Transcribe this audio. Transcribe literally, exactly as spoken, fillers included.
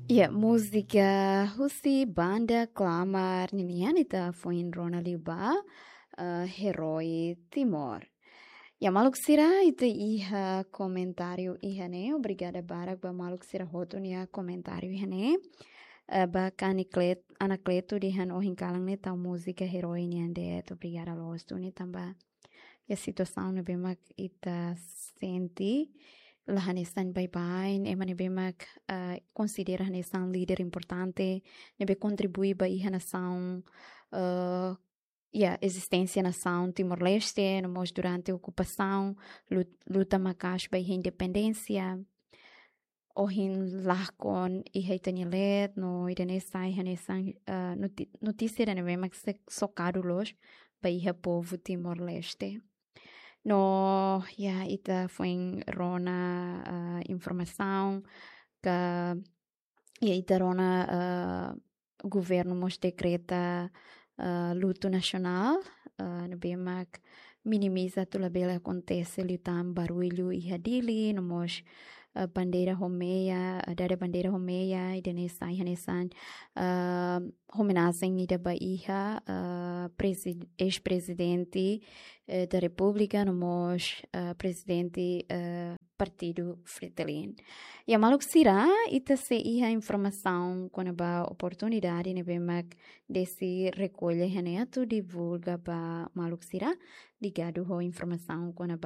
Ya, múzika husi banda Klamar ninian ita foin rona liu ba, eh, Herói Timor. Ya, maluk sira, ita iha komentáriu iha ne'e. Obrigada barak ba maluk sira hotu nia komentáriu iha ne'e. Eh, ba Kani Klet-, Anacleto dehan ohin kalan ne'e tau múzika Herói nian de'it. Obrigada loos duni tanba iha situasaun ne'ebé mak ita sente la hanesan baibain, ema ne'ebé mak, eh, konsidera hanesan líder importante, ne'ebé kontribui ba iha nasaun, eh, ya, ezisténsia nasaun Timor-Leste, no mós durante okupasaun, lut-, luta maka'as ba iha independénsia. Ohin lakon iha ita-nia leet, no ida-ne'e sai hanesan, eh, noti-, notísia ida ne'ebé mak se-, sokadu loos ba iha povu Timor-Leste. No, ya, ita foin rona, eh, informasaun ka, ya, ita rona, eh, governu mós dekreta, eh, lutu nasionál, eh, ne'ebé mak minimiza atu labele akontese liután barullu iha Dili, no mós, eh, bandeira ho meia, eh, dada bandeira ho meia, ida-ne'e sai hanesan, eh, homenajen ida ba iha, eh, presi-, eis-prezidente, eh, da Repúblika, no mós, eh, prezidente, eh, Partidu Fretilin. Ya, maluk sira, ita sei iha informasaun kona-ba oportunidade ne'ebé mak Desi rekolla iha ne'e atu divulga ba maluk sira, ligadu ho informasaun kona-ba